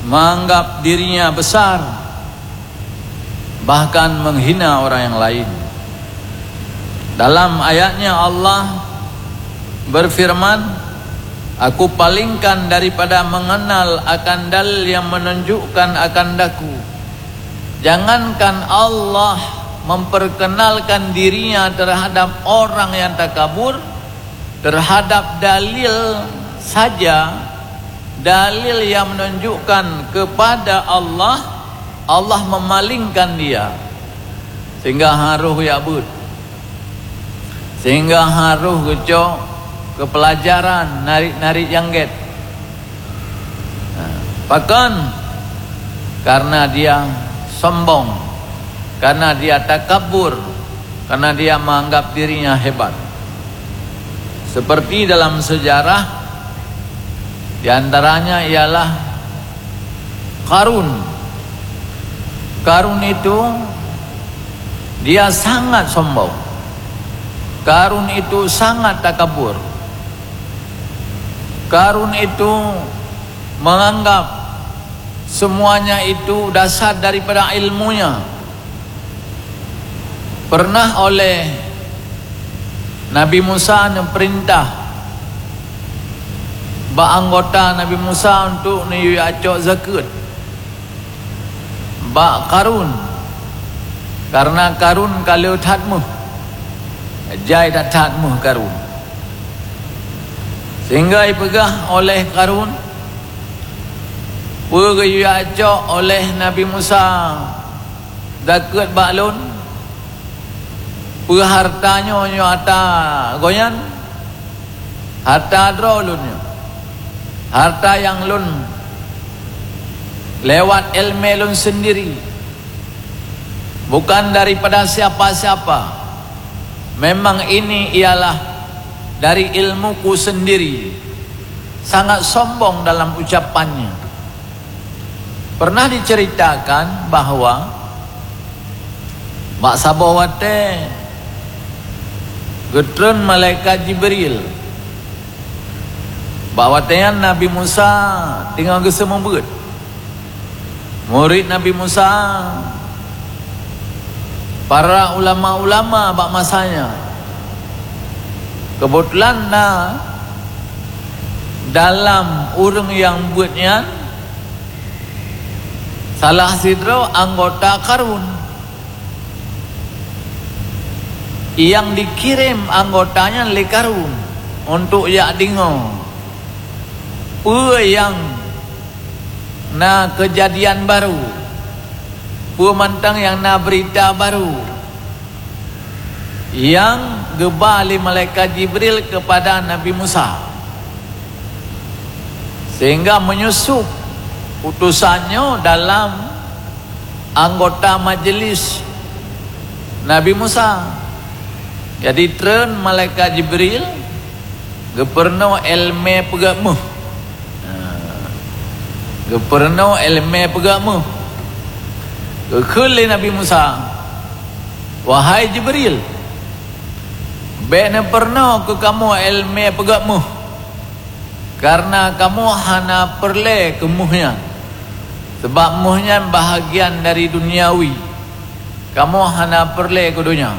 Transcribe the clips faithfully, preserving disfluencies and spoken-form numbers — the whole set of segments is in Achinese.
menganggap dirinya besar, bahkan menghina orang yang lain. Dalam ayatnya Allah berfirman, "Aku palingkan daripada mengenal akan dalil yang menunjukkan akan daku." Jangankan Allah memperkenalkan dirinya terhadap orang yang takabur, terhadap dalil saja, dalil yang menunjukkan kepada Allah, Allah memalingkan dia. Sehingga harôh jak beuet. Sehingga harôh geucok keu peulajaran narit-narit nyang gét. Nah, pakon? Karena dia sombong, karena dia takabur, karena dia menganggap dirinya hebat. Seperti dalam sejarah, di antaranya ialah Karun. Karun itu, dia sangat sombong. Karun itu sangat takabur. Karun itu menganggap semuanya itu dasar daripada ilmunya. Pernah oleh Nabi Musa neupeurintah bak anggota Nabi Musa untuk neuyue cok zakeuet bak Karun, karena Karun ka le that méuh, jai that-that méuh Karun. Sehingga ipeugah oleh Karun, "Peue geuyue cok oleh Nabi Musa zakeuet bak lôn? Peue hareuta nyoe, nyoe hareuta gobnyan? Hareuta droe lôn nyoe, hareuta nyang lôn lewat iéleumé lôn seundiri, bukan daripada siapa-siapa. Memang ini ialah dari ilmuku sendiri." Sangat sombong dalam ucapannya. Pernah diceritakan bahwa bak saboh watée geutreun malaikat Jibril. Bak watée nyan Nabi Musa teungoh geuseumeubeuet. Murit Nabi Musa, para ulama-ulama bak masa nyan. Keubeutulan na dalam ureuëng nyang beuet nyan salah sidroe anggota Karun. Nyang dikirém anggota nyan lé Karun untuk jak deungoe peue nyang na keujadian barô, peue mantong nyang na beurita barô nyang geuba lé malaikat Jibril keupada Nabi Musa. Sehingga menyusup utosan nyoe dalam anggota majeulis Nabi Musa. Jadi, treun malaikat Jibril geupeurunoe iéleumé peugét méuh. Ha. Geupeurunoe iéleumé peugét méuh. Geukheun lé Nabi Musa, "Wahai Jibril, bék neupeurunoe keu kamoe iéleumé peugét méuh, kareuna kamoe hana peureulée keu méuh nyan, sabab méuh nyan bahagian dari duniawi. Kamoe hana peureulée keu donya.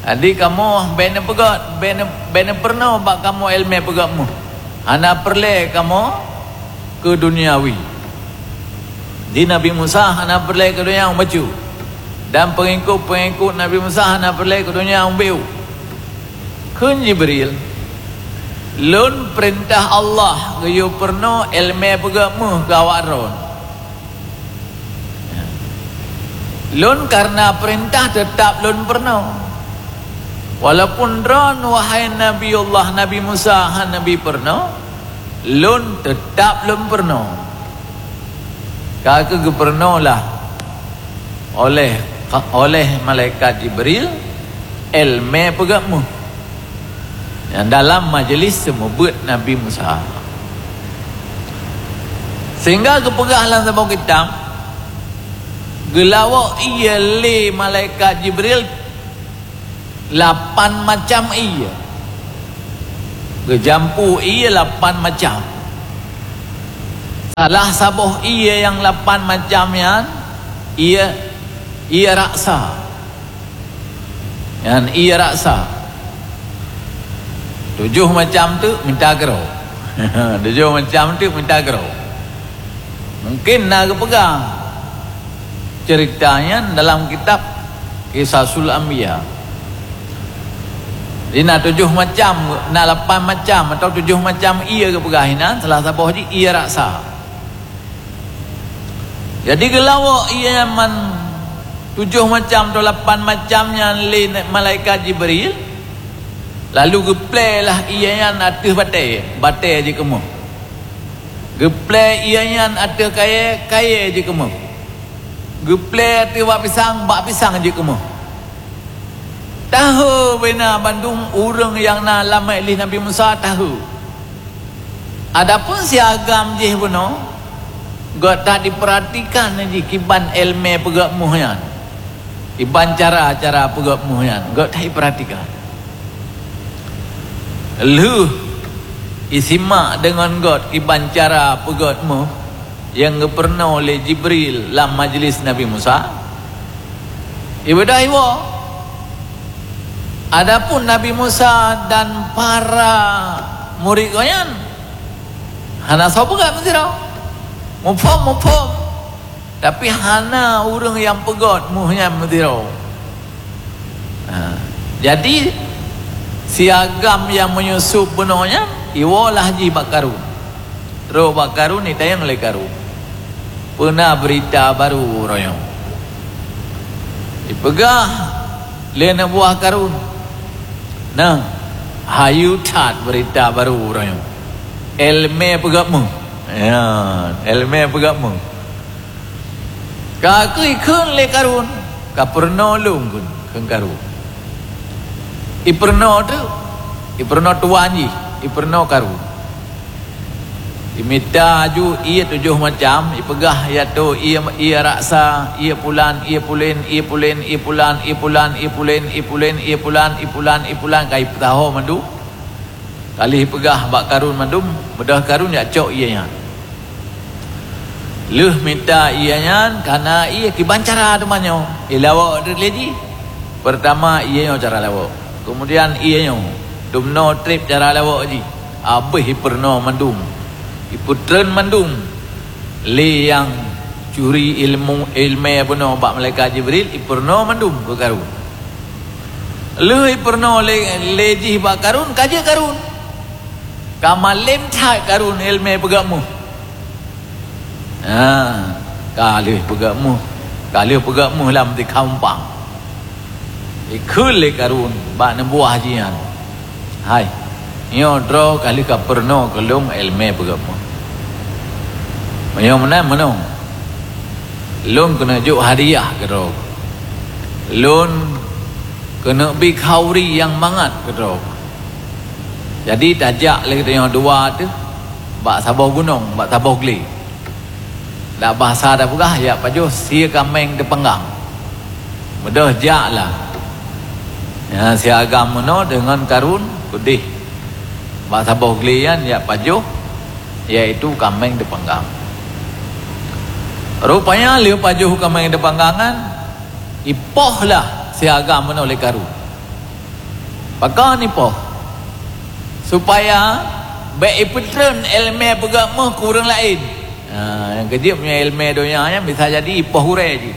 Jadi, kamoe bék neupeugét, bék neu-, bék neupeurunoe bak kamoe iéleumé peugét méuh. Hana peureulée kamoe keu duniawi." Di Nabi Musa hana peureulée keu donya bacut, dan peungikut-peungikut Nabi Musa hana peureulée keu donya ubeu. Kheun Jibril, "Lôn peurintah Allah geuyue peurunoe iéleumé peugét méuh keu awak droe. Lôn kareuna peurintah teutab lôn peurunoe. Walaupun droe, wahai Nabiullah Nabi Musa, hana bri peurunoe, lôn teutab lôn peurunoe." Ka keuh geupeurunoe lah oleh, oleh malaikat Jibril iéleumé peugét méuh nyang dalam majeulis seumeubeuet Nabi Musa. Sehingga geupeugah lam saboh kitab, geulawok ié lé malaikat Jibril lapan macam ié. Geujampu ié lapan macam. Salah saboh ie nyang lapan macam nyan, ie, ie raksa. Nyan ie raksa. Tujoh macam tu mita keudroe. Tujoh macam tu mita keudroe. Mungkin na geupeugah cerita nyan dalam kitab Qisasul Anbiya. Jadi na tujoh macam, na lapan macam atau tujoh macam ie geupeugah inan, salah saboh jih ie raksa. Jadi geulawok ie nyan tujoh macam atau lapan macam nyan lé malaikat Jibril, lalu geuplé lah ie nyan ateueh batée, batée jikeumoh. Geuplé ie nyan ateueh kayée, kayée jikeumoh. Geuplé ateueh bak pisang, bak pisang jikeumoh. Tahe beuna bandum ureuëng nyang na lam majlis Nabi Musa tahe. Adapun si agam jih bunoe, gét that jipeuratikan jih kiban éleumé peugét muh nyan. Kiban cara-cara peugét muh nyan, gét that jipeuratikan. Lheueh isimak deungon gét kiban cara peugét muh nyang geupeurunoe lé Jibril lam majlis Nabi Musa, ibeudôh iwoe. Adapun Nabi Musa dan para murit gobnyan hana soe peugét meusidroe. Muphom, muphom. Tapi hana ureuëng nyang peugét muh nyan meusidroe. Ha. Jadi, si agam nyang meuyusôp bunoe nyan, iwoe lah jih bak Karun. Trok bak Karun, itanyong lé Karun, "Peue na beurita barô uroe nyoe?" Ipeugah lé aneuk buah Karun, "Na, hayeu that beurita barô uroe nyoe. Éleumé peugét muh." Ya, éleumé peugét muh. Ka keuh ikheun lé Karun, "Ka peurunoe lôn," kheun, kheun Karun. Ipeurunoe teuk, ipeurunoe tuan jih, ipeurunoe Karun. Imita aju ie tujoh macam, ipeugah, "Ya toh, ie, ie raksa, ie pulan, ie pulen, ie pulen, ie pulan, ie pulen, ie pulen, ie pulan, ie pulan, ie pulan," ka ipeusaho mandum. Ka lheueh ipeugah bak Karun mandum, beudôh Karun jak cok ie nyan. Lheueh mita ie nyan, ka na ie kiban cara teuma nyoe, ilawok teuk lé jih. Peurtama ie nyoe cara lawok, keumudian ie nyoe, dumnoe treb cara lawok jih, habéh ipeurunoe mandum, ipeutreun mandum. Lé nyang curi ilmu, éleumé bunoe bak malaikat Jibril, ipeurunoe mandum keu Karun. Lheueh ipeurunoe lé, lé jih bak Karun, ka jeuet Karun. Ka malém that Karun éleumé peugét muh. Ha, ka lheueh peugét muh, ka lheueh peugét muh lam tikha umpang. Ikheun lé Karun bak aneuk buah jih nyan, "Hai, nyoe droe ka lheueh ka peurunoe keu lôn éleumé peugét muh. Meunyoe meunan meunoe, lôn keuneuk jok hadiah keu droe. Lôn keuneuk bi khauri nyang mangat keu droe. Jadi tajak lé geutanyoe dua teuh bak saboh gunong, bak saboh glé. Dak basa tapeugah, jak pajoh sie kaméng teupanggang. Beudôh jak lah." Nyan si agam meunoe deungon Karun keudeh bak saboh glé nyan jak pajoh, yaitu kaméng teupanggang. Rupanya lheueh pajoh kaméng teupanggang nyan, ipoh lah si agam meunoe lé Karun. Pakon ipoh? Supaya bék ipeutreun éleumé peugét muh keu ureuëng laén. Ha, nyang keujeuet meunyoe éleumé donya nyan bisa jadi ipoh gurée jih.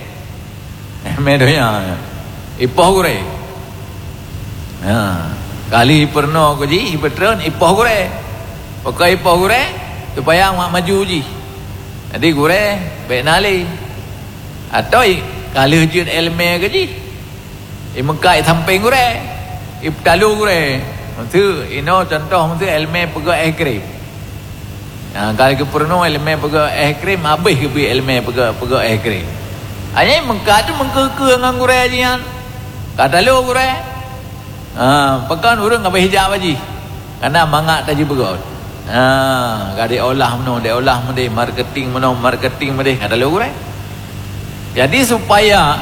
Éleumé donya nyan ipoh gurée. Ha, ka lheueh ipeurunoe keu jih, ipeutreun, ipoh gurée. Pakon ipoh gurée? Supaya mak maju jih. Jadi gurée bék na lé. Atau i-, ka lheueh jeuet éleumé keu jih, imeukat i sampéng gurée, ipeutalo gurée. Meuseu inoe contoh meuseu éleumé peugét éh krém. Ha, ka geupeurunoe éleumé peugét éh krém, habéh geubri éleumé peugét, peugét éh krém. Hanya imeukat tu meukeue-keue ngon gurée jih nyan. Ka talo gurée. Ha, pakon ureuëng habéh jak bak jih. Kana mangat tajih beugôt. Ha, ka diolah meunoe, diolah meudeh, marketing meunoe, marketing meudeh, ka talo gurée. Jadi supaya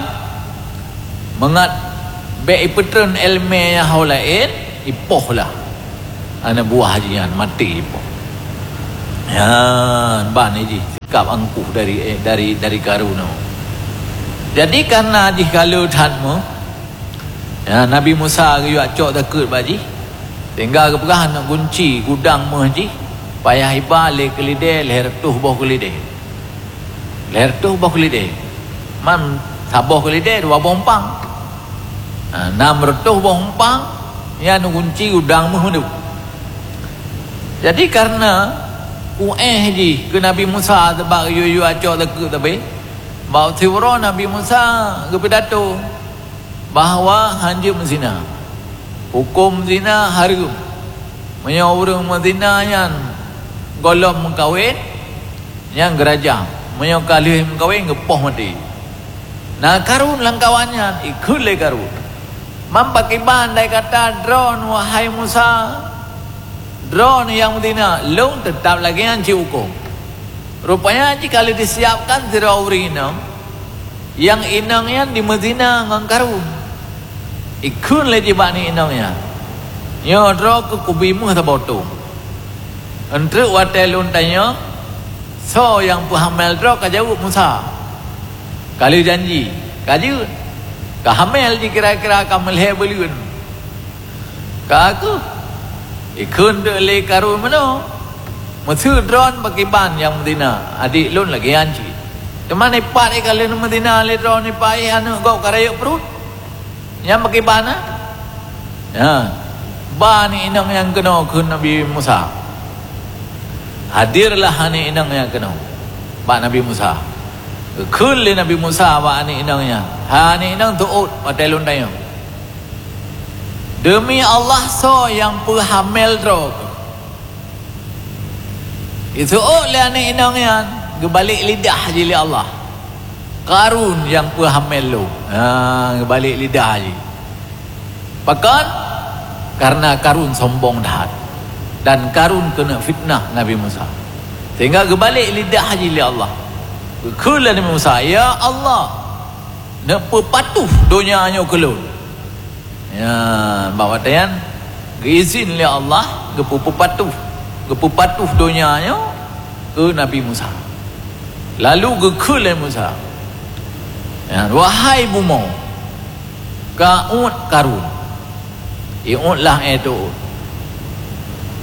mangat bék ipeutreun éleumé nyang ho laén, ipoh lah aneuk buah jih nyan, maté ipoh. Ya, ban jih sikap angkuh dari, eh, dari, dari Karun. Jadi, karena jih ka le that meuh, ya, Nabi Musa geuyue cok takheun bak jih, sehingga geupeugah aneuk gunci gudang meuh jih payah iba lé keulidé lhèe reutôh boh keulidé. Lhèe reutôh boh keulidé. Man saboh keulidé dua boh umpang. Ha, nam reutôh boh umpang, nyan gunci gudang meuh mandum. Jadi, karena uéh jih keu Nabi Musa sabab geuyue-yue cok takheun sabe, bak siuroe Nabi Musa geupidato bahwa hanjeuet meuzina. Huköm zina hareuem. Meunyoe ureuëng meuzina nyan gohlom meukawen, nyan geurajam. Meunyoe ka lheueh meukawen, geupoh maté. Na Karun lam kawan nyan, ikheun lé Karun, "Man pakriban dai gata droeneuh, wahai Musa? Droeneuh nyang meuzina, lôn teutab lagée nyan cit huköm." Rupanya jih ka lheueh disiapkan sidroe ureuëng inong, nyang inong nyan jimeuzina ngon Karun. Ikheun lé jih bak aneuk inong nyan, "Nyoe droe keuh kubi méuh saboh tông. Eunteuk watée lôn tanyong, soe nyang peuhamel droe, ka jaweueb Musa. Ka lheueh janji, ka jeuet. Ka hamel jih kira-kira ka meulhée buleuen." Ka kheueh, ikheun teuk lé Karun meunoe, "Meuseu droeneuh pakriban nyang meuzina adék lôn lagée nyan cit. Teuma dipat ka lheueh meuzina lé droeneuh, dipat aneuk gob ka rayeuk pruet. Nyan pakriban, ah?" Nyan, ba aneuk inong nyan keunoe kheun Nabi Musa. Hadirlah aneuk inong nyan keunoe bak Nabi Musa. Geukheun lé Nabi Musa bak aneuk inong nyan, "Hai aneuk inong, teuôt watée lôn tanyong. Deumi Allah, soe nyang peuhamel droe keuh?" Jiseuôt lé aneuk inong nyan, geubalek lidah jih lé Allah, "Karun nyang peuhamel lôn." Ha, geubalek lidah jih. Pakon? Karena Karun sombong that. Dan Karun keuneuk fitnah Nabi Musa. Sehingga geubalek lidah jih lé Allah. Geukheun lé Nabi Musa, "Ya Allah, neupeupatuh donya nyoe keu lôn." Ya, bak watée nyan geuizin lé Allah geupeu-, peupatuh, geupeupatuh donya nyoe keu Nabi Musa. Lalu geukheun lé Musa, ya, "Wahai bumoe, ka uet Karun." Iuet lah, eh, teuôt.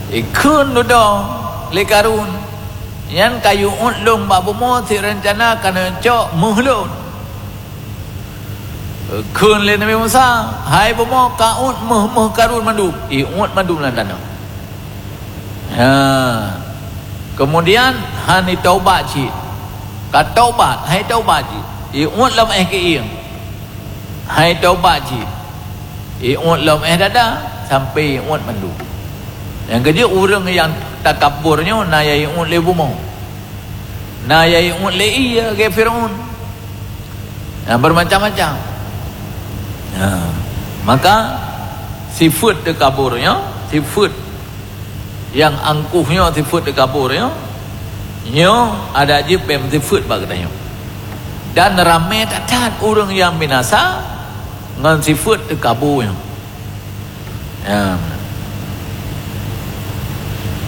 Ikheun dudoe lé Karun, "Nyan ka iuet lôn bak bumoe, sit reuncana ka neucok méuh lôn." Kheun lé Nabi Musa, "Hai bumoe, ka uet méuh-méuh Karun mandum." Iuet mandum lam tanoh. Ha. Keumudian, hana taubat cit. Ka taubat, hai taubat cit. Iuet lom éh keuieng. Hai taubat cit. Iuet lom éh dada, sampoe iuet mandum. Nyang keujeuet, ureuëng nyang takabur nyoe na nyang iuet lé bumoe. Na nyang iuet lé ie lagée Firaun. Nyang beumacam-macam. Ha. Maka, sifeuet takabur nyoe, sifeuet nyang angkuh nyoe, sifeuet takabur nyoe, nyoe adak jih bèk meusifeuet bak geutanyoe. Dan ramé that-that ureuëng nyang binasa ngon sifeuet takabur nyoe. Ya.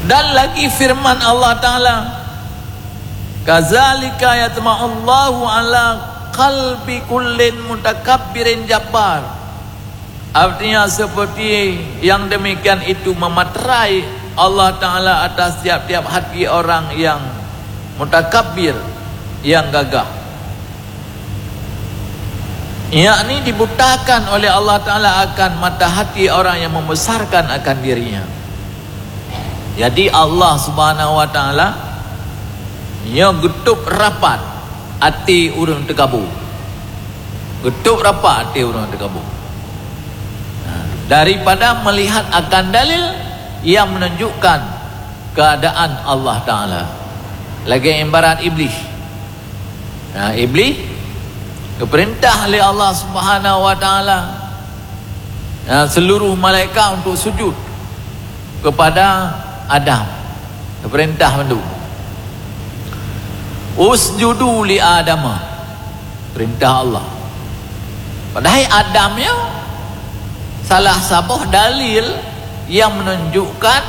Dan lagi firman Allah Taala, "Kadzalika yatba'ullahu ala qalbi kullin mutakabbirin jabbar." Artinya, seperti yang demikian itu mematrai Allah Taala atas tiap-tiap hati orang yang mutakabbir, yang gagah. Yakni dibutakan oleh Allah Taala akan mata hati orang yang membesarkan akan dirinya. Jadi, Allah Subhanahu wa Taala nyoe geutôb rapat até ureuëng takabur. Geutôb rapat até ureuëng takabur. Daripada melihat akan dalil yang menunjukkan keadaan Allah Taala. Lagée ibarat Iblis. Nah, Iblis geupeurintah lé Allah Subhanahu wa Taala, nah, seluruh malaikat untuk sujud kepada Adam. Geupeurintah mandum. "Usjudu li Adama." Perintah Allah. Padahai Adam nyoe salah saboh dalil yang menunjukkan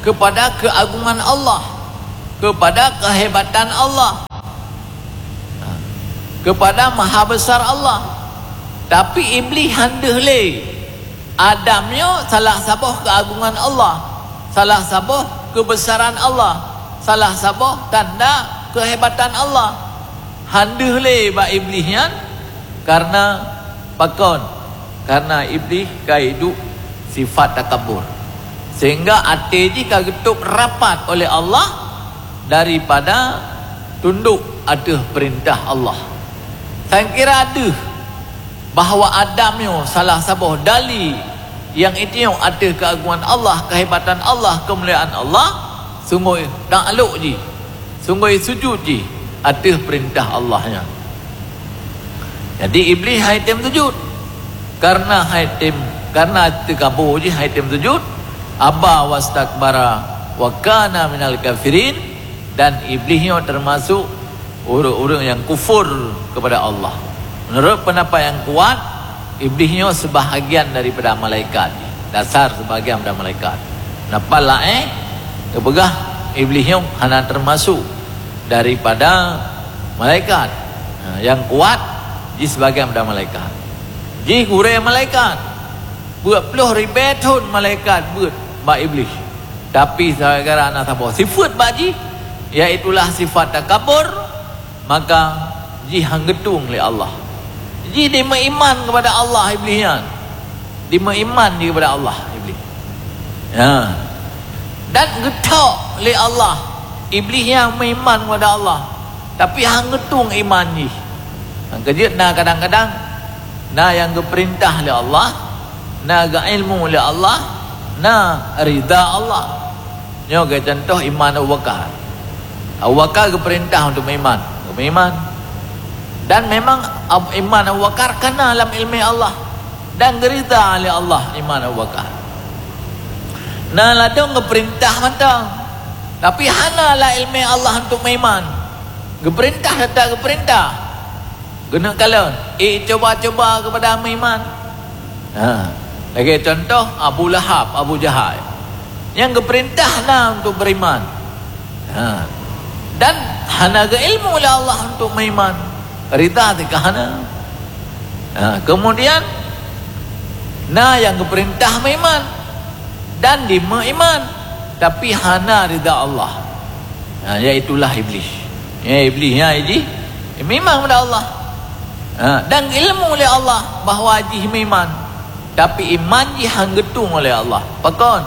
kepada keagungan Allah. kepada keuhebatan Allah, kepada maha besar Allah. Tapi Iblih han deuh lé. Adam nyoe salah saboh keuagungan Allah, salah saboh keubesaran Allah, salah saboh tanda keuhebatan Allah. Han deuh lé bak Iblih nyan, karena pakon? Karena Iblih ka iduek sifat takabur, sehingga até jih ka geutôb rapat oleh Allah daripada tundok ateueh peurintah Allah. Sangkira deuh bahwa Adam nyoe salah saboh dali nyang itanyong ateueh keuagungan Allah, keuhebatan Allah, keumuliaan Allah, sunggoh taklok jih, sunggoh sujut jih ateueh peurintah Allah nyan. Jadi Iblih han item sujut, karena han item, karena teukabô jih han item sujut, aba wastakbara wa kana minal kafirin, dan Iblih nyoe teumasok ureuëng-ureuëng nyang kufur kepada Allah. Meunurot peundapat nyang kuat, Iblih nyoe seubahagian daripada malaikat, dasar seubahagian daripada malaikat. Peundapat laén geupeugah Iblih nyoe hana teumasok daripada malaikat. Ha, nyang kuat jih seubahagian daripada malaikat. Jih gurée malaikat. Peuet ploh ribée thon malaikat beuet bak Iblih. Tapi gara-gara na saboh sifeuet bak jih, iaitulah sifat takabur, maka jih han geutueng lé Allah. Jih dimeuiman kepada Allah Iblih nyan. Dimeuiman jih kepada Allah Iblih. Ya. Dan geuthok lé Allah Iblih nyang meuiman kepada Allah, tapi han geutueng iman jih. Nyang keujeuet na kadang-kadang na nyang geupeurintah lé Allah, na geuilmu lé Allah, na rida Allah. Nyoe geucontoh iman Abu Bakar. Abu Bakar geupeurintah untuk meuiman, geumeuiman. Dan memang Ab-, iman Abu Bakar kana lam iéleumé Allah dan geurida lé Allah iman Abu Bakar. Na ladôm geupeurintah mantong, tapi hana lam iéleumé Allah untuk meuiman. Geupeurintah teutap geupeurintah. Keuneuk kalon, eh, cuba-cuba keupada meuiman. Ha, lagée contoh Abu Lahab, Abu Jahal. Nyang geupeurintah na untuk beriman. Ha. Dan hana geuilmu lé Allah untuk meuiman. Rida teuka hana. Ha, kemudian na nyang geupeurintah meuiman dan dimeuiman, tapi hana rida Allah. Ha, iaitulah Iblih. Ya, Iblih nyan jih meuiman kepada Allah. Ha, dan ilmu lé Allah bahwa jih meuiman, tapi iman jih han geutueng oleh Allah. Pakon?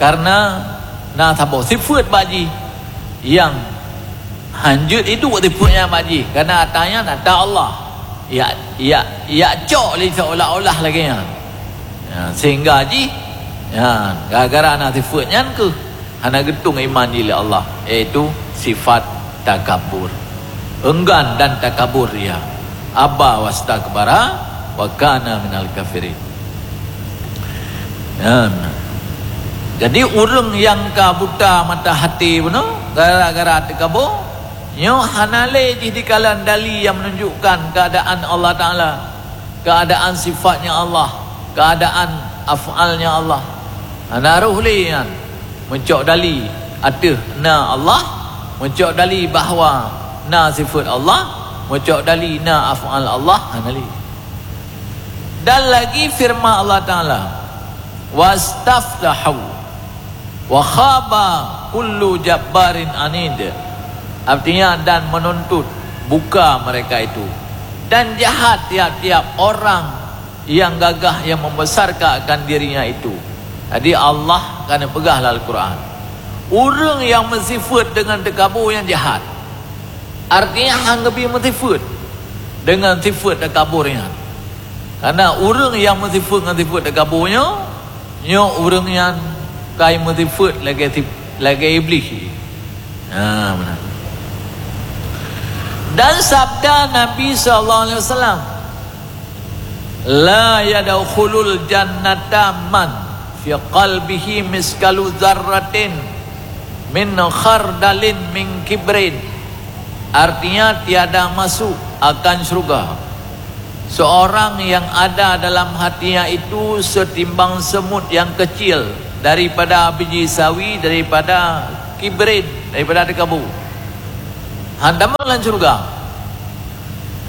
Karena na saboh sifeuet bak jih nyang han jeuet iduek sifeuet nyan bak jih, karena ata nyan ata Allah. Ya, ya, ya cok lé seolah-olah lagée nyan. Ya, sehingga jih, ya, gara-gara na sifeuet nyan keuh hana geutueng iman jih lé Allah, yaitu sifat takabur. Enggan dan takabur ia. Aba wastakbara wa kana minal kafirin. Nyan. Jadi, ureuëng nyang ka buta mata hati bunoe gara-gara teukabô, nyoe hana lé jih dikalon dali nyang meununjukkan keuadaan Allah Taala, keuadaan sifatnya Allah, keuadaan af'alnya Allah. Hana roh lé nyan meucok dali ateueh na Allah, meucok dali bahwa na sifeuet Allah, meucok dali na af'al Allah, hana lé. Dan lagi firman Allah Taala, "Wastaftahu wa khaba kullu jabbarin anid." Artinya, dan menuntut buka mereka itu, dan jahat tiap-tiap orang yang gagah yang membesarkan akan dirinya itu. Jadi, Allah ka neupeugah lam Al-Quran, ureuëng nyang meusifeuet deungon teukabô nyan jahat. Artinya, han geubi meusifeuet deungon sifeuet takabur nyan. Karena ureuëng nyang meusifeuet ngon sifeuet takabur nyoe, nyoe ureuëng nyan ka meusifeuet lagée sif-, lagée Iblih. Ha, meunan. Dan sabda Nabi sallallahu alaihi wasallam, "La yadkhulul jannata man fi qalbihi miskalu dzarratin min khardalin min kibrin." Artinya, tiada masuk akan syurga seorang yang ada dalam hatinya itu setimbang semut yang kecil daripada biji sawi, daripada kibrin daripada teukabô. Han tamong lam syeuruga.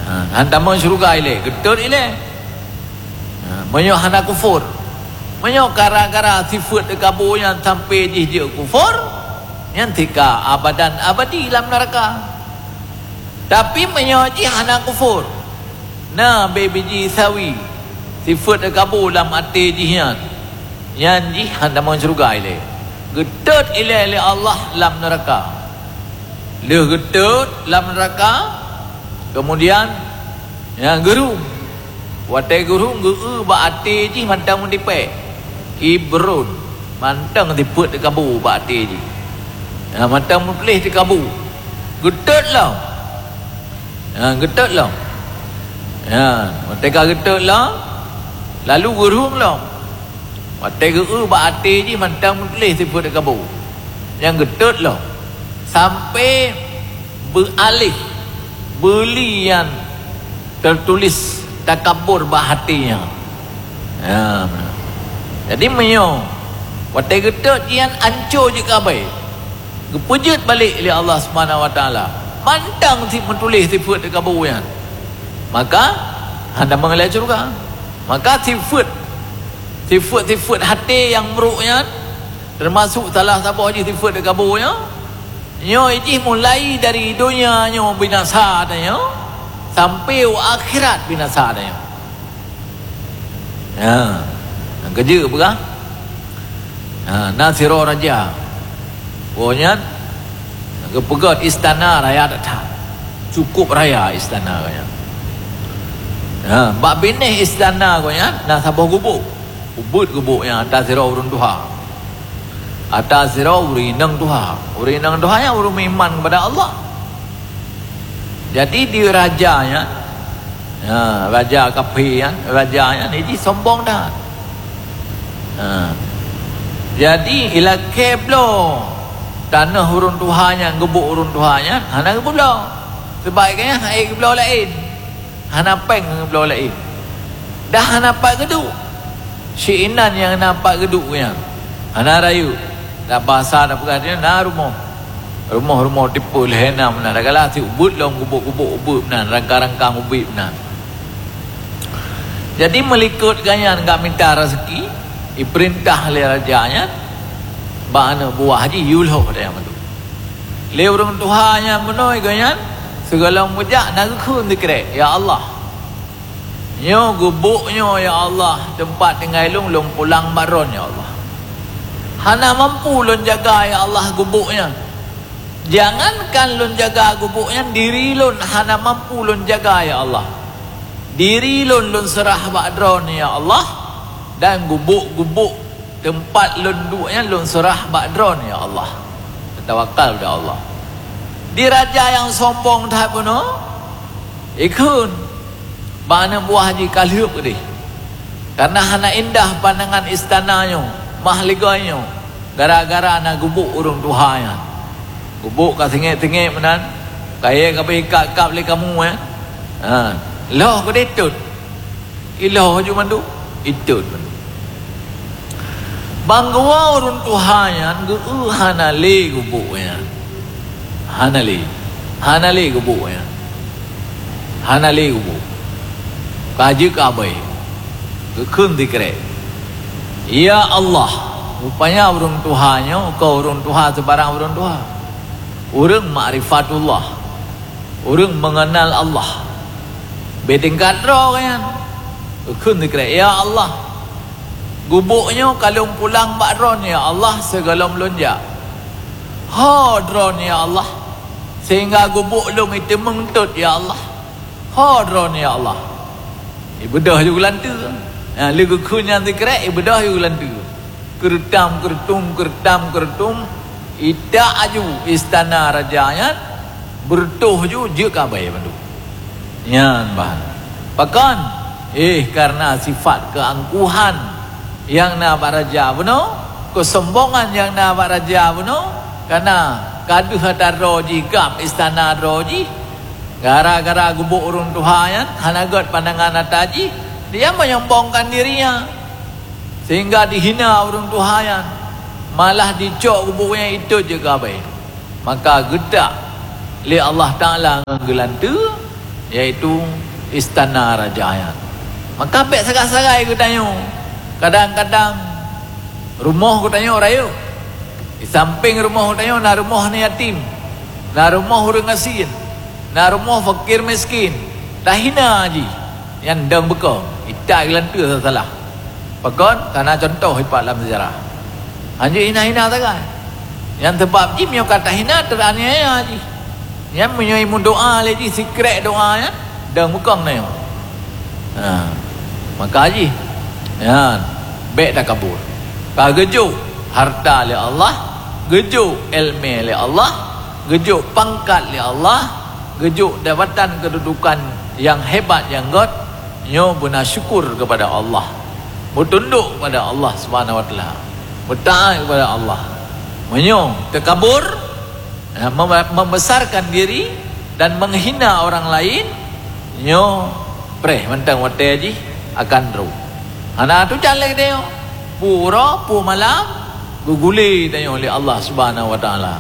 Ha, han tamong syeuruga ilée, geutot ilée. Ha, meunyoe hana kufur. Meunyoe gara-gara sifeuet teukabô nyan sampai jih jeuet kufur, nyan tika abadan abadi lam neuraka. Tapi meunyoe jih hana kufur, na bibiji sawi sifeuet teukabô lam até jih nyan, nyan jih han tamong syeuruga ilée. Geutot ilée lé Allah lam neuraka. Lheueh geutot lam neuraka, keumudian, nyan geurhom. Watée geurhom geu-eu bak até jih mantong meutipée. Kibron, mantong sifeuet teukabô bak até jih. Ha, mantong meutuléh teukabô. Geutot lom. Ha, geutot lom. Ha, watée ka geutot lom, lalu geurhom lom. Watée geu-eu bak até jih mantong meutuléh sifeuet teukabô. Nyang geutot lom. Sampai beualéh beuli nyang teutuléh takabur bak até nyan. Ha, meunan. Jadi meunyoe watée geutot nyan ancô jeuet keu abée, geupeujeuet balék lé Allah Subhanahu wa Taala, mantong si meutuléh sifeuet teukabô nyan, maka hana meungalée syeuruga. Maka sifeuet, sifeuet-sifeuet até nyang brok nyan, teumasok salah saboh jih sifeuet teukabô nyan, nyoe jih mulai dari donya nyoe binasa tanyoe sampai u akhirat binasa tanyoe. Ya. Nyang keujeuet peugah, ha, na sidroe raja. Gobnyan geupeugöt istana raya that-that. Cukup raya istana gobnyan. Ha, bak binéh istana gobnyan na saboh gubuk. Ubeuet gubuk nyan ata sidroe ureuëng tuha. Ata sidroe ureuëng inong tuha. Ureuëng inong tuha nyan ureuëng meuiman keupada Allah. Jadi di raja nyan, ha, raja kafé nyan, raja nyan jih sombong that. Ha. Jadi ilakée bloe tanoh ureuëng tuha nyan, gubuk ureuëng tuha nyan hana geubloe. Sabab gobnyan han geubloe laén. Hana péng ngon bloe laén. Dah hana pat geuduek. Sinan nyang na pat geuduek nyan. Hana rayeuk. Dak basa dak peugah dia na rumoh. Rumoh-rumoh tipe lhée na meunan. Dak gala si ubeuet lom gubuk-gubuk ubeuet meunan, rangka-rangka ubit meunan. Jadi meulikot gobnyan gak mita raseuki, ipeurintah lé raja nyan bak aneuk buah jih yue lhoh dayah mandum. Lé ureuëng tuha nyan meunoe gobnyan, sigohlom geujak na geukheun sikrek, "Ya Allah, nyoe gubuk nyoe, ya Allah, teumpat tinggai lôn, lôn pulang bak droen, ya Allah. Hana mampu lôn jaga, ya Allah, gubuk nyan. Jangankan lôn jaga gubuk nyan, diri lôn hana mampu lôn jaga, ya Allah. Diri lôn, lôn seurah bak droen, ya Allah, dan gubuk-gubuk teumpat lôn duek nyan lôn seurah bak droen, ya Allah." Tawakal bak Allah. Di raja nyang sombong that bunoe, ikheun bak aneuk buah jih ka lheueh keudeh. Karena hana indah pandangan istana nyoe, mahligai nyoe, gara-gara na gubuk ureuëng tuha nyan. Gubuk ka singét-singét meunan, kayée ka beuikat-ikat lé kamoe, eh. Ha, lhoh keudeh tot. Ilhoh ju mandum, itot mandum. Ban geuwoe ureuëng tuha nyan geu-eu hana lé gubuk nyan. Hana lé. Hana lé gubuk nyan. Hana lé gubuk. Ka jeuet keu abée. Geukheun sikrek. "Ya Allah," rupanya ureuëng tuha nyoe kon ureuëng tuha sibarang ureuëng tuha. Ureuëng makrifatullah. Ureuëng meungenal Allah. Bak tingkat droe nyan. Geukheun sikrek, "Ya Allah, gubuk nyoe ka lôn pulang bak droen, ya Allah, sigohlom lôn jak. Ho droen, ya Allah, sehingga gubuk lôn iteumeung tot, ya Allah. Ho droen, ya Allah." Ibeudôh ju geulanteue. Nah, lé geukheun nyan sikrek, ibeudôh ju geulanteue. Keureutang-keureutong, keureutang-keureutong, itak aju istana raja nyan, beureutoh ju jeuet keu abée mandum. Nyan ban. Pakon? Eh, karena sifat keuangkuhan nyang na bak raja bunoe, keusombongan nyang na bak raja bunoe, karena ka deuh ata droe jih gab istana droe jih, gara-gara gubuk ureuëng tuha nyan hana gét pandangan ata jih, dia menyombongkan dirinya. Sehingga dihina ureuëng tuha nyan. Malah jicok kubu nyan itot jeuet keu abée. Maka geutak lé Allah Taala ngon geulanteue, yaitu istana raja nyan. Maka bék sagai-sagai geutanyoe. Kadang-kadang rumoh geutanyoe rayeuk. Di sampéng rumoh geutanyoe na rumoh aneuk yatim, na rumoh ureuëng gasien, na rumoh fakir miskin. Tahina jih. Nyan dong beukong, itat geulanteue salah. Pakon? Kana cuntoh ipat lam seujarah. Hanjeuet hina-hina sagai. Nyan sabab jih meunyoe ka tahina, teuaniaya jih. Nyan meunyoe meudoa lé jih sikrék doa nyan, dong beukong na nyoe. Ha. Maka jih, nyan, bék takabur. Ka geujok harta lé Allah, geujok iéleumé lé Allah, geujok pangkat lé Allah, geujok jabatan keududukan nyang hebat nyang göt, nyoe beuna syukur keupada Allah, meutundok keupada Allah Subhanahu wa Taala, meutaát keupada Allah. Meunyoe takabur, mem-, membesarkan diri dan menghina orang lain, nyoe preh mantong watée jih akan rôh. Hana tujan lé geutanyoe. Peue uroe, peue malam, geugulé tanyoe lé Allah Subhanahu wa Taala.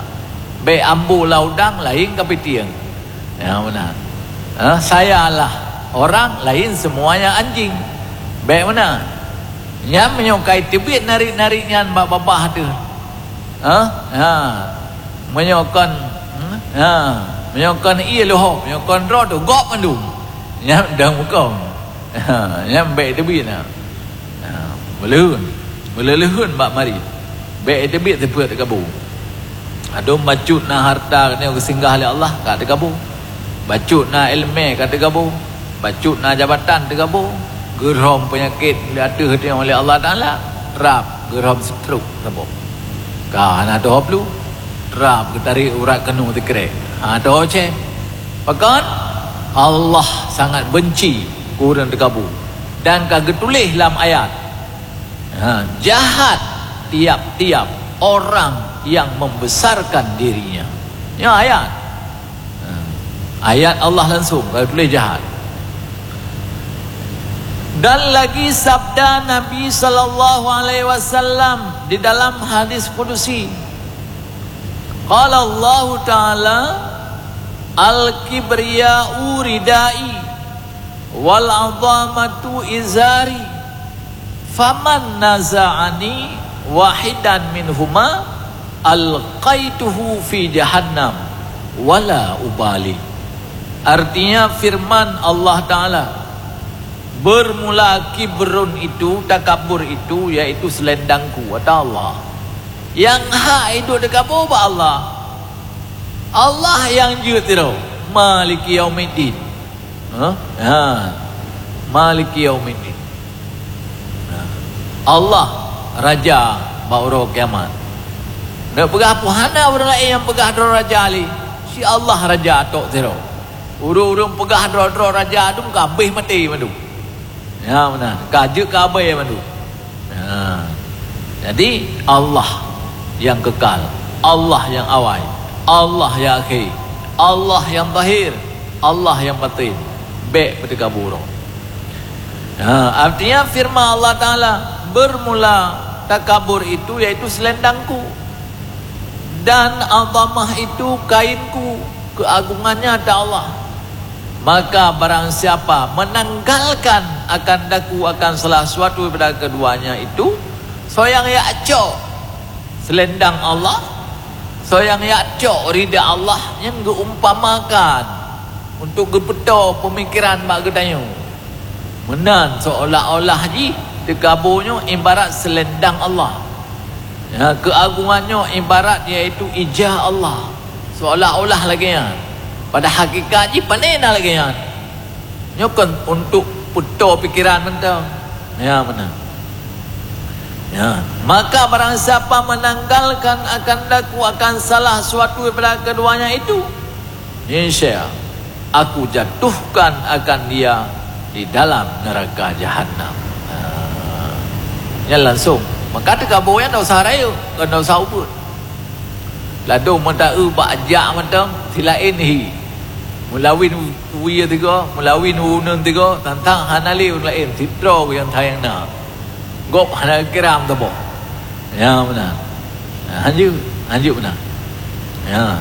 Bék ambo lam udang laén kapitieng. Ya, meunan. Ha, sayalah orang lain semuanya anjing. Bék meunan. Nyan meunyoe ka teubiet narit-narit nyan bak babah teuh. Ha? Ha. Meunyoe kon, hmm? Ha. Meunyoe kon ie leuhob, meunyoe kon droe teuh, gob mandum. Nyan dong beukong. Ha, nyan bék teubiet na. Ha, meuleuheun. Meuleuheun bak marit. Bék teubiet teupeu takabur. Adum bacut na harta nyoe geusinggah lé Allah, ka takabur. Bacut na iéleumé, ka takabur. Bacut na jabatan, takabur. Geurhom peunyakét di ateueh tanyoe lé Allah Taala, rab geurhom stroke saboh. Ka hana teuhob lu, rab geutarek urat keunoe sikrék. Ha, teuhob cé. Pakon? Allah sangat benci keu ureuëng takabur dan ka geutuléh lam ayat, ha, jahat tiap-tiap orang yang membesarkan dirinya. Nyoe ayat. Ha, ayat Allah langsung ka geutuléh jahat. Dan lagi sabda Nabi sallallahu alaihi wasallam di dalam hadis kudusi, qala Allahu Ta'ala, "Al-kibriya'u ridai, wal 'azamatu izari, faman naza'ani wahidan minhuma, alqaituhu fi jahannam, wala ubali." Artinya firman Allah Ta'ala, "Bermula kibrun itu, takabur itu, yaitu selendangku," kata Allah. Nyang hak iduek takabur bak Allah. Allah nyang jeuet sidroe, Maliki Yaumiddin. Ha? Ha. Maliki Yaumiddin. Ha. Allah Raja bak uroe kiamat. Neupeugah peue hana ureuëng laén nyang peugah droe raja lé. Si Allah raja tok sidroe. Ureuëng-ureuëng peugah droe-droe raja tu ka habéh maté mandum. Ya, meunan. Ka jeuet keu abée mandum. Ha. Jadi, Allah nyang kekal, Allah nyang awai, Allah nyang akhé, Allah nyang zahir, Allah nyang batin. Bék peutakabur. Ha, artinya firman Allah Ta'ala, "Bermula takabur itu yaitu selendangku, dan azamah itu kainku, keagungannya," kata Allah. Maka barang siapa menanggalkan akan daku akan salah suatu daripada keduanya itu, soe nyang jak cok selendang Allah, soe nyang jak cok rida Allah, nyan geuumpamakan untuk geupeutoe peumikiran bak geutanyoe. Meunan seolah-olah jih takabur nyoe ibarat selendang Allah. Ya, keagungan nyoe ibarat yaitu ija Allah. Seolah-olah lagée nyan. Pada hakikat jih pane na lagée nyan. Nyoe kon untuk peutoe pikiran mantong. Ya, meunan. Ya, maka barang siapa menanggalkan akan daku akan salah suatu daripada keduanya itu, niscaya Aku jatuhkan akan dia di dalam neraka Jahannam. Ha. Nyan langsung. Maka takabur nyan dak usah rayeuk, kon dak usah ubeut. Ladôm meuta eu bak jak mantong, si laén hi. Meulawin wie tiga, meulawin uneun tiga, tantang hana lé ureuëng laén, sidroe nyang sayang na. Gob hana kiram saboh. Ya, meunan. Hanjeuet, hanjeuet beuna. Ya.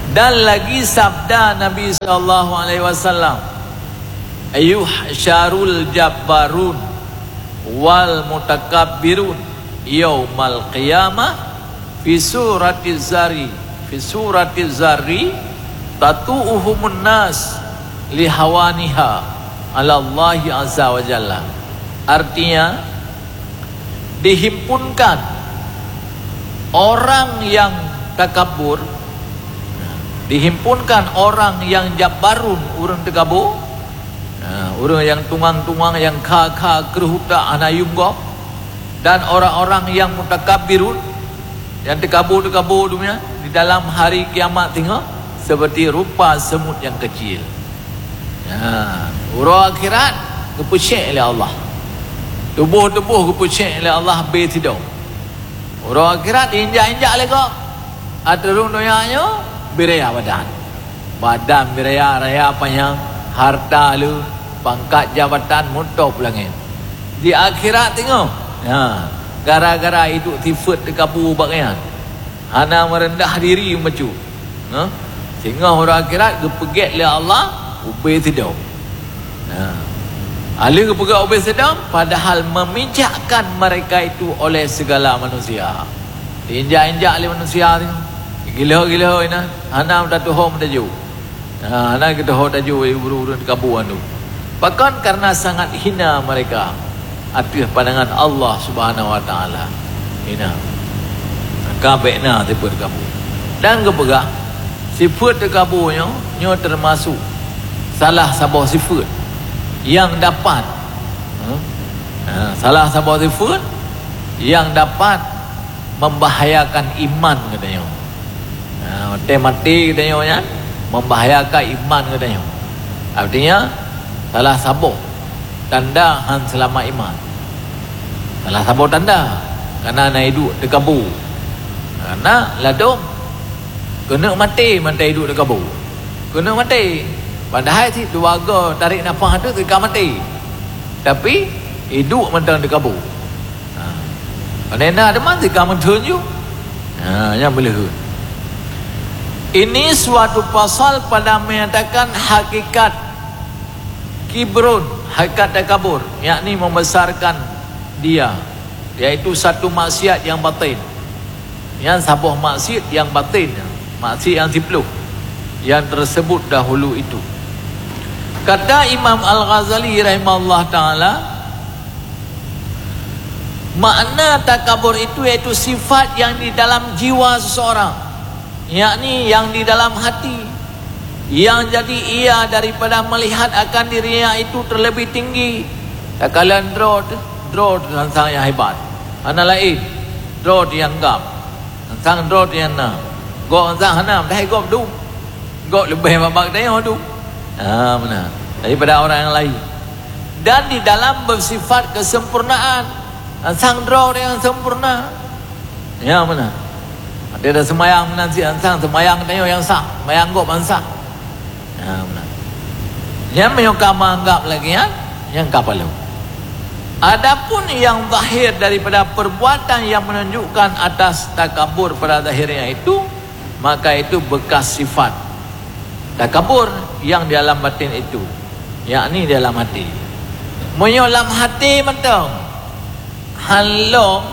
Dan lagi sabda Nabi sallallahu alaihi wasallam, "Yuhsyarul jabbarun wal mutakabbirun yaumal qiyamah fi surati zari, fi surati zari tatu'uhumun nas lihawaniha alallahi azza wa jalla." Artinya, dihimpunkan orang yang takabur, dihimpunkan orang yang jabbarun, ureuëng teukabô, ureuëng nyang tungang-tungang, nyang kha-kha kreueh utak hana yuem gob, dan orang-orang yang mutakabbirun, nyang teukabô-teukabô donya di dalam hari kiamat singoh seperti rupa semut yang kecil. Ya, uroe akhirat geupeucék lé Allah. Tuboh-tuboh geupeucék lé Allah bé sidom. Uroe akhirat injak-injak lé gob. Ateueh rhueng donya nyoe biraya badan. Badan biraya raya panyang, harta le, pangkat jabatan mutôb langét. Di akhirat teungoh, ya, gara-gara iduek sifeuet teukabô bak nyan, hana meureundah diri meucue. Nah, singoh uroe akhirat geupeugét lé Allah ubé sidom. Nah, aleuh geupeugét ubé sidom, padahal memijakkan mereka itu oleh segala manusia. Diinjak-injak lé manusia tu. Gila-gila inan, hana meutateuhom taju. Nah, hana geuteuhom taju ureuëng-ureuëng teukabô tu. Pakon? Karena sangat hina mereka ateueh pandangan Allah Subhanahu wa Taala. Hina. Ka bék na sifeuet teukabô. Dan geupeugah, sifeuet teukabô nyoe, nyoe teumasuk salah saboh sifeuet nyang dapat, ha, salah saboh sifeuet nyang dapat membahayakan iman geutanyoe. Ha, watée maté geutanyoe nyan membahayakan iman geutanyoe. Artinya, salah saboh tanda han seulamat iman. Salah saboh tanda, karena na iduek teukabô. Karena ladom keuneuk maté mantong iduek teukabô. Keuneuk maté. Padahai cit dua goe tarék nafah tu teuka maté. Tapi iduek mantong teukabô. Ha. Pane na teuma teuka meutheun ju. Ha, nyan beuleuheut. Ini suatu pasal pada menyatakan hakikat kibrun, hakikat takabur, yakni membesarkan dia, yaitu satu maksiat yang batin. Nyan saboh maksiat yang batin, maksiat yang siplôh yang tersebut dahulu itu. Kata Imam Al-Ghazali rahimahullah taala, makna takabur itu yaitu sifat yang di dalam jiwa seseorang, yakni yang di dalam hati, yang jadi ia daripada melihat akan dirinya itu terlebih tinggi. Takalon droe teuh, droe teuh sang-sang nyang hebat. Hana laén, droe teuh nyang gam. Sang droe teuh nyang na. Gob sang hana, padahai gob dum. Gob leubeh bak geutanyoe dum. Ha, meunan. Daripada orang yang lain. Dan di dalam bersifat kesempurnaan. Sang droe teuh nyang sempurna. Ya, meunan. Ada dah sembahyang meunan si sang, sembahyang geutanyoe nyang sah, sembahyang gob nyang sah. Ha, meunan. Nyan meunyoe ka meuanggap lagée nyan, nyan ka palong. Adapun yang zahir daripada perbuatan yang menunjukkan atas takabur pada zahirnya itu, maka itu bekas sifat takabur yang di alam batin itu, yakni di alam hati. Meunyoe lam hati mantong, han lom,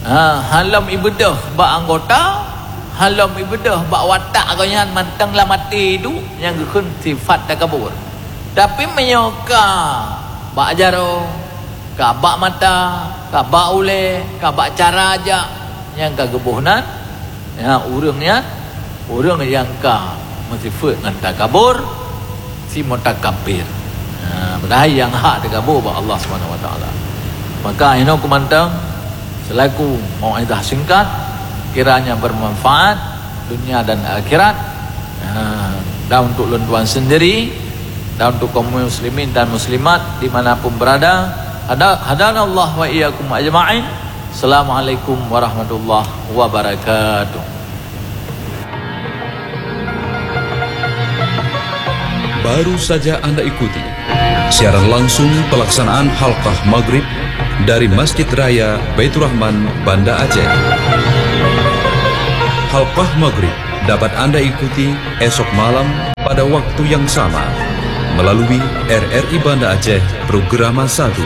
ha, han lom ibeudôh bak anggota, han lom ibeudôh bak watak geuh nyan, mantong lam até iduek, nyang geukheun sifat takabur. Tapi meunyoe ka bak jaroe, ka bak mata, ka bak ulée, ka bak cara jak, nyang ka geuboh nan, ya, ureuëng nyan, ureuëng nyang ka meusifeuet ngon takabur, si mutakabir. Ha, padahai nyang hak takabur bak Allah Subhanahu Wa Taala. Maka inoe kumantong selaku mauizah singkat, kiranya bermanfaat dunia dan akhirat. Ha, dan untuk lôn tuan sendiri, dan untuk kaum muslimin dan muslimat di mana pun berada, hada-, hadanallah wa iyyakum ajma'in. Assalamualaikum warahmatullahi wabarakatuh. Baru saja Anda ikuti siaran langsung pelaksanaan Halqah Maghrib Dari Masjid Raya Baiturrahman, Banda Aceh. Halqah Maghrib dapat Anda ikuti esok malam pada waktu yang sama melalui R R I Banda Aceh Programa satu.